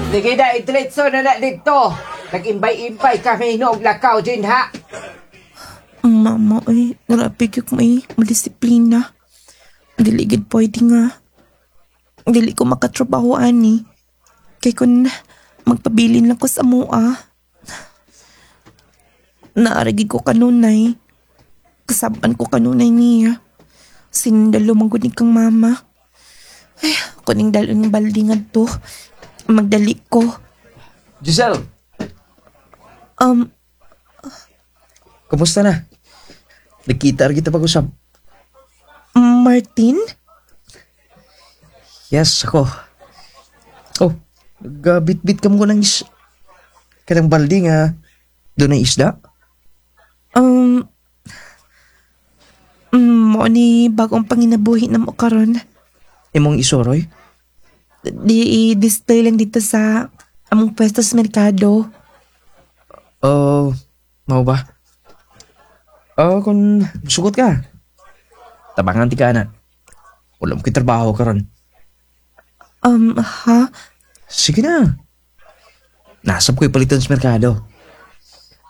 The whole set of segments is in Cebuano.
Sige na, idretso na na dito. Nag-imbay-imbay kami noog lakaw din ha. Mama, ay, grabe gyud mo eh. Madisiplina. Dili gid pwede nga. Dili ko makatrabaho ani. Kay kun magpabilin lang ko sa mua. Naaragi ko kanunay. Kasaban ko kanunay niya. Sindalo man gud ni kang mama. Ay, kuning dalon ng baldi ngadto. Magdali ko. Giselle, kumusta na? Nagkita ra kita pag-usap. Martin? Yes, ako. Oh, nagabit-bit ka mo ng is... Kanang baldi nga, doon ay isda? Mo ni bagong panginabuhi na mo karon. Imong isoroy? Di i-display lang dito sa among pwesto sa merkado. Oh, mau ba? Oh, kung sugot ka. Tabangan ti ka na. Wala mo trabaho karon. Ha? Sige na. Nasab ko'y palitan sa merkado.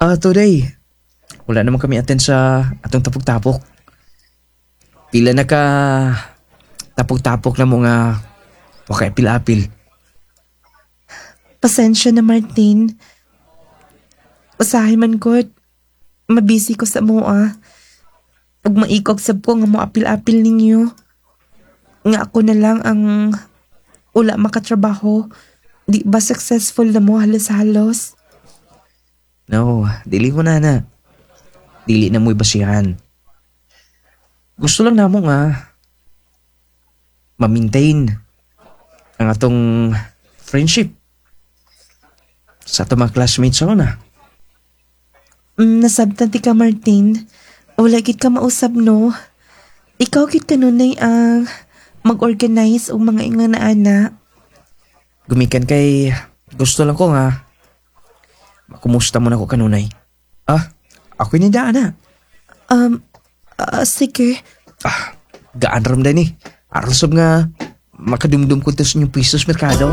Ah, today, wala naman kami attend sa atong tapok-tapok. Pila na ka tapok-tapok na mo nga wakay apil-apil. Pasensya na, Martin. Usahay man gud. Mabisi ko sa mua. Ug maikog sab ko nga mo apil-apil ninyo. Nga ako na lang ang wala makatrabaho. Di ba successful na mo halos-halos? No, dili mo na na. Dili na mo'y basihan. Gusto lang namo nga ma-maintain ang atong friendship sa atong mga classmates sa una. Nasabtan ti ka, Martin. Wala gid ka mausab, no? Ikaw gid kanunay ang mag-organize og mga ingon na ana. Gumikan kay gusto lang ko nga makumusta mo na ko kanunay. Ah, ako ni daan na. Sige. Ah, gaan ram din eh. Aron sab nga makadumdum ko to sa inyong pwesto sa merkado.